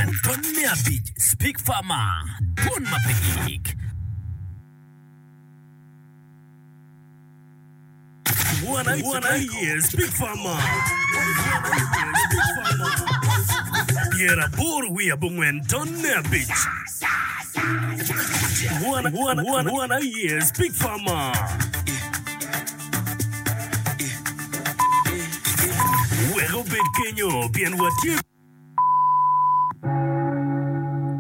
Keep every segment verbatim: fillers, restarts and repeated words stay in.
abongwen tonne abic Speak Farmer Dwon ma pe gik. Wan aye Speak Farmer Pyeraboro wiye abongwen tonne abic Wan aye Speak Farmer Wek obed kenyo pien watye.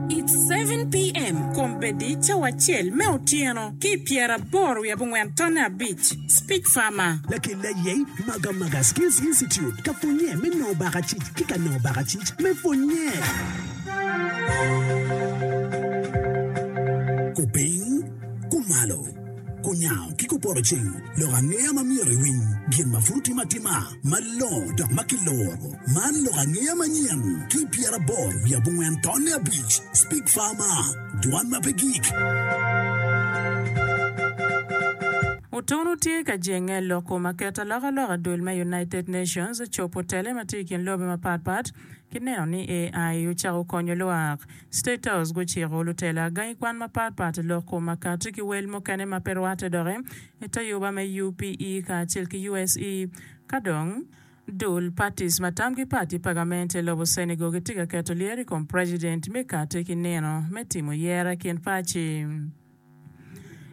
It's seven PM kombeddi cawa acel me otyeno ki i pyeraboro wiye abongwen tonne abic. Speak Farmer. Lakel aye Magamaga Skills Institute ka pwonye me nongo bakacic ki ka nongo bakacic me pwonye. Kupiny, kumalo, kunyango ki kupoto ceng, lok angeya ma myero iwiny, gin ma pud otimo atima, malongo dok ma kiloro. Man lok angeya manyen ki pyeraboro wiye abongwen tonne abic. Speak Farmer, dwan ma pe gik. Otunu tye ka jenge i lok kom aket alokaloka dul me United Nations cobo tele ma tye i kin lobe mapat pat ki neno ni A I ocako konyo lwak. State House guciko lutela gangi kwan mapat pat i lok kom akati ki wel mukene ma pe rwatte doki i te yuba me U P E kacel ki U S E. Ka dong, dul parties ma tamgi pat i pagament i lobo Senegal gitye ka keto lyero i kom president me kati ki nino me timo yera i kin paci.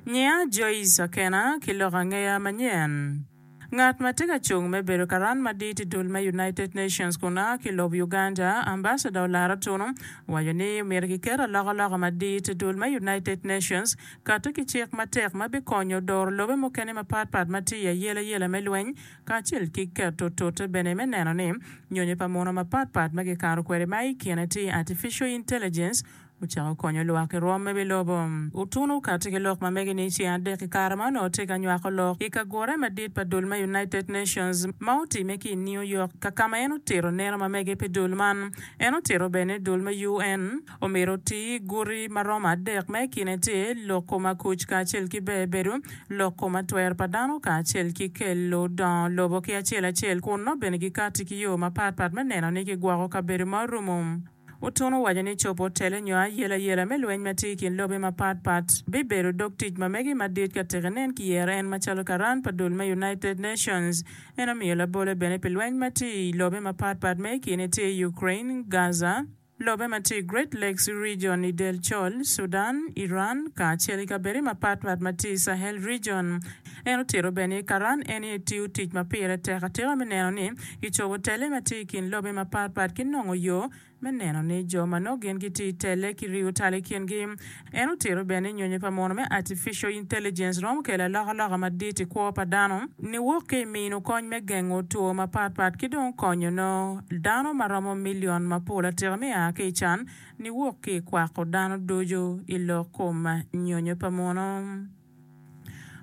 Nyiya Joyce Akena ki lok angeya manyen. Ngat ma tye ka cung me bedo karan madit i dul me United Nations kun a ki i lobo Uganda, Ambassador Olara Tunu, owaco ni myero kiket alokaloka madit i dul me United Nations kati ki cik matek ma bikonyo doro lobe mukene mapatpat ma tye i ayelayela me lweny kacel ki keto tute bene me neno ni nyonyo pa muno mapatpat ma kikato kwede ma i kine tye artificial intelligence ocako konyo lwak i rwom me wi lobo. Otunu okati ki lok ma mege ni ceng adek i kare ma onongo tye ka nywako lok i kagure madit pa dul me United Nations ma otime ki i New York ka ka ma en otito neno ma mege pi dul man. En otito bene ni dul me U N omyero oti guti ma romo adek ma i kine tye lok kom akuc kacel ki ber bedo, lok kom atwer pa dano kacel ki kelo dongo lobo ki acel acel kun nongo bene gikati ki yo mapat pat me neno ni gigwoko kabedo ma orumo. Otunu owaco ni cobo tele nyo ayelayela me lweny ma tye i kin lobe mapat pat bibedo dog tic ma mege madit ka tek inen kiyero en macalo karan pa dul me United Nations. En omiyo labole bene pi lweny ma tye i lobe mapat pat ma i kine tye Ukraine, Gaza, lobe ma tye i Great Lakes Region i Del Col, Sudan, Iran, kacel ki kabedo mapat pat ma tye i Sahel Region. En otito bene ni karan en aye tiyo tic ma pire tek atika me neno ni kicobo tele ma tye i kin lobe mapat pat ki nongo yo me neno ni jo ma nongo gin gitye i tele ki riyo tal i kingi. En otito bene ni nyonyo pa muno me artificial intelligence romo kelo alokaloka madit i kwo pa dano niwok ki i mino kony me gengo two mapat pat ki dong konyo nongo dano ma romo milion mapol atika me a ki i can niwok ki i kwako dano ducu i lok kom nyonyo pa muno.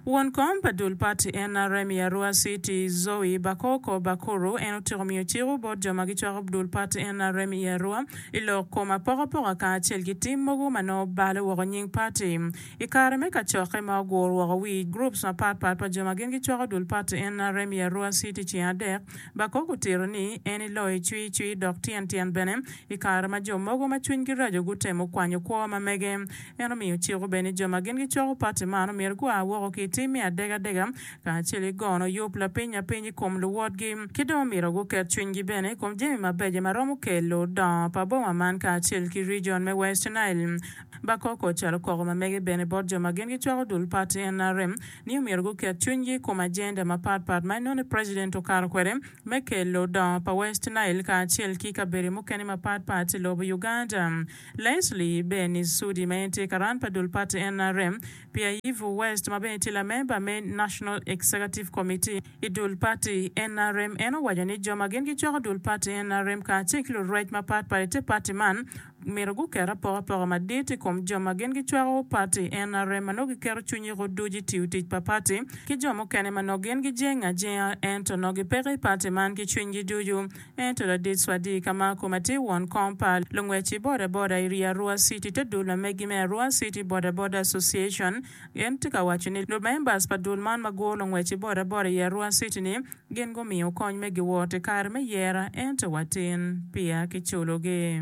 Won kom pa dul pati N R M i Arua City, Zoe Bakoko Bakuru en otyeko miyo ciko bot jo ma gicwako dul pati N R M i Arua i lok kom apokapoka kacel ki tim mogo ma nongo balo woko nying pati. I kare me kacokke ma oguro woko wi groups mapat pat pa jo ma gin gicwako dul pati N R M i Arua City ceng adek, Bakoko otito ni en iloyo cwi cwi dok tyen tyen bene i kare ma jo mogo ma cwinygi raco gutemo kwanyo kwo ma mege. En omiyo ciko bene ni jo ma gin gicwako pati man omyero gua woko ki i tim me adegadega kacel ki gono yub lapiny apiny i kom luwotgi ki dong omyero guket cwinygi bene i kom jami mabeco ma romo kelo dongo pa boma man kacel ki region me West Nile. Bakoko ocalo koko ma mege bene bot jo ma gin gicwako dul pati N R M ni omyero guket cwinygi i kom agenda mapat pat ma inongo ni president okato kwede me kelo dongo pa West Nile kacel ki kabedo mukene mapat pat i lobo Uganda. Leslie Benny Sudi ma en tye karan pa dul pati N R M pi Ayivu West ma bene tye lamemba me National Executive Committee i dul pati N R M en owaco ni jo ma gin gicwako dul pati N R M kacel ki lurwec mapat pat i te pati man myero guket apokapoka madit i kom jo ma gin gicwako pati N R M ma nongo giketo cwinygi ducu i tiyo tic pa pati ki jo mukene ma nongo gin gijenge ajenga ento nongo gipeke i pati man ki cwinygi ducu. Ento ladit Swadi Kamako ma tye won kom pa lungwec i boda boda i Arua City te dul ma megi me Arua City Boda Boda Association en tye ka waco ni lumembers pa dul man ma guro lungwec i boda boda i Arua City ni gin gumiyo kony me giwot i kare me yera ento watin peya kiculogi.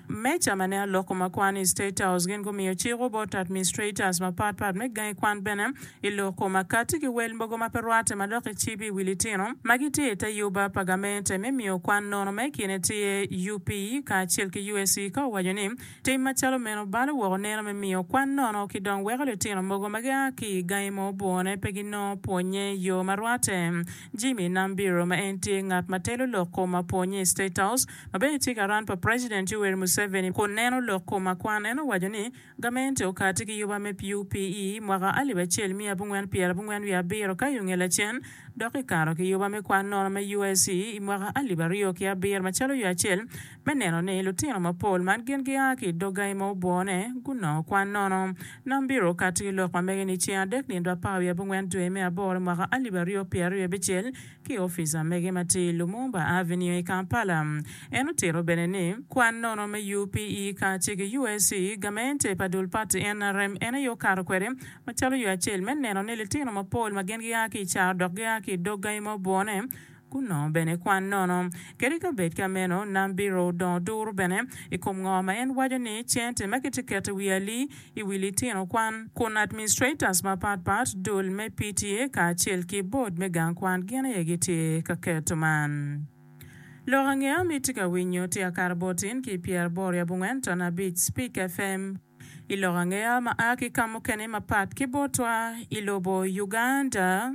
Meja ma neno lok kom kwan i State House gin gumiyo ciko bot administrators mapatpat me gangi kwan bene i lok kom akati ki wel mogo ma pe rwatte ma dok icibo i wi litino ma gitye i te yuba pa gamente me miyo kwan nono ma i kine tye U P E kacel ki U S E, ka owaco ni tim macalo meno balo woko neno me miyo kwan nono ki dong weko litino mogo ma gia ki i gangi ma obwone pe ginongo pwonye i yo ma rwatte. Jimmy Nambiro, ma en tye ngat ma telo lok kom apwonye i State House ma bene tye ka ran pa President Yoweri Museveni kun neno lok kom akwan, en owaco ni gamente okati ki yuba me U P E mwaka alip acel miya abongwen pyera abongwen wiye abiro, ka yunge lacen dok ikato ki yuba me kwan nono me U S E i mwaka alip aryo ki abiro macalo yo acel me neno ni lutino mapol man gin gia ki i dog gangi ma obwone gunongo kwan nono. Nambiro okati ki lok ma mege ni ceng adek nindo apar wiye abongwen dwe me aboro mwaka alip aryo pyera aryo abicel ki i opic amege ma tye i Lumumba Avenue i Kampala. En otito bene ni kwan nono me U P E kacel ki U S E, gamente pa dul party N R M en aye okato kwede macalo yo acel me neno ni litino mapol ma gin gia ki i caro dok gia ki i dog gangi ma obwone gunongo bene kwan nono. Kadi ka bed ka meno, Nambiro odongo duro bene i kom ngo ma en waco ni cente ma kitye keto i wi ali i wi litino kwan, kun administrators mapatpat, dul me P T A kacel ki board me gang kwan gin aye gitye ka keto man. Lok angeya mi tye ka winyo tye akato botin ki pyeraboro abongwen ton abic Speak F M. I lok angeya ma a ki ka mukene mapat ki botwa i lobo Uganda,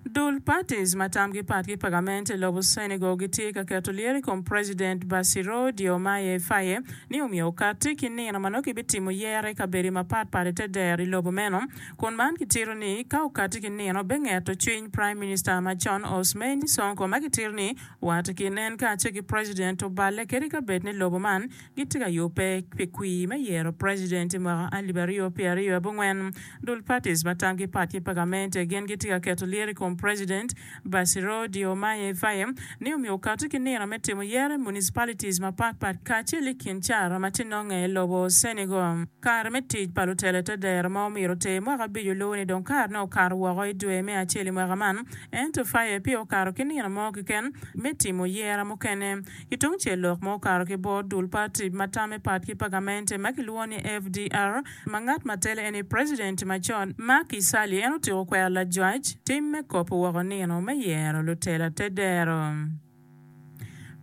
dul parties ma tamgi pat ki pagament i lobo Senegal gitye ka keto lyero i kom President Bassirou Diomaye Faye ni omiyo okati ki nino ma nongo kibitimo yere i kabedo mapatpat i te dero i lobo meno, kun man kitito ni ka okati ki nino bengeto cwiny Prime Minister macon Ousmane Sonko, ma kitito ni wat i kin en kacel ki President oballe kadi ka bed ni lobo man gitye ka yubbe pi kwir me yero President i mwaka alip aryo pyera aryo abongwen. Dul parties ma tamgi pat ki pagamente gin gitye ka keto lyero i kom President Bassirou Diomaye Faye ni omiyo okati ki nino me timo yere municipalities mapatpat kacel i kin caro ma tye nonge i lobo Senegal. Kare me tic pa lutelo te dero ma omyero oter mwaka abic olubo ni dong karene okato woko i dwe me acel i mwaka man, ento Faye pe okato ki nino mo keken me timo yera mukene. Ki tung cel, lok ma okato ki bot dul party ma tame pat ki pagamente ma kilwongo ni F D R, ma ngat ma tele en ni President macon Macky Sall, en otyeko kwero lajwac tim me kopo woko nino me yero lutela te dero.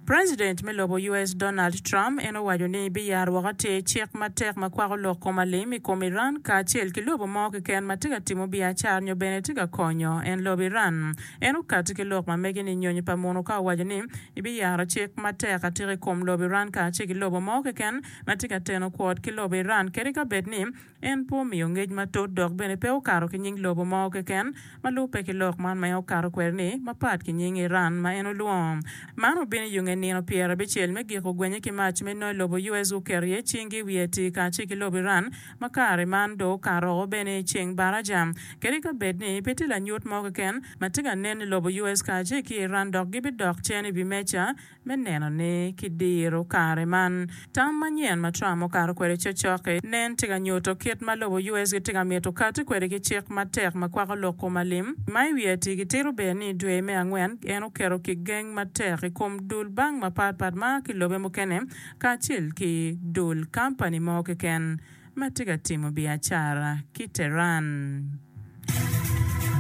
President me lobo U S Donald Trump en owaco ni biyaro woko atir cik matek ma kwako lok kom alim i kom Iran kacel ki lobo mo keken ma tye ka timo biacara nyo bene tye ka konyo en lobo Iran. En okati ki lok ma mege ni nyonyo pa muno ka owaco ni ibiyaro cik matek atika i kom lobo Iran kacel ki lobo mo keken ma tye ka teno kwot ki lobo Iran, kadi ka bed ni en pe omiyo ngec matut dok bene pe okato ki nying lobo mo keken ma lubbe ki lok man ma en okato kwede ni mapat ki nying Iran ma en olwongo. Man obino i yunge nino pyera abicel me giko gwenye ki mac me nongo lobo U S guketo iye cingi i wiye ati kacel ki lobo Iran, ma kare man dong okato bene i ceng baraja, kadi ka bed ni pe tye lanyut mo keken ma tye ka nen ni lobo U S kacel ki Iran dok gibidok cen i wi meja me neno ni kidiro kare man. Tam manyen ma Trump okato kwede cokcok-ki nen tye ka nyuto kit ma lobo U S gitye ka mito kati kwede ki cik matek ma kwako lok kom alim ma i wiye ati. Gitito bene ni i dwe me angwen en oketo kigeng matek i kom dul bank mapatpat ma ki lobe mukene kacel ki dul kampani mo keken ma tye ka timo biacara ki Tehran.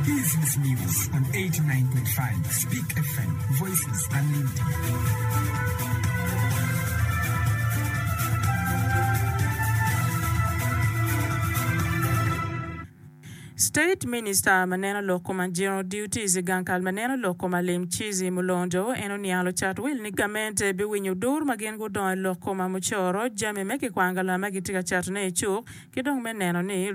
Business News on eighty-nine point five Speak F M, Voices Unlimited. State Minister ma neno lok kom general duties i gang kal ma neno lok kom alim, Chizi Mulondo, en oniang lucat wil ni gamente biwinyo dur ma gin gudongo i lok kom mucoro jami me kikwangala ma gitye ka catone i cuk ki dong me neno ni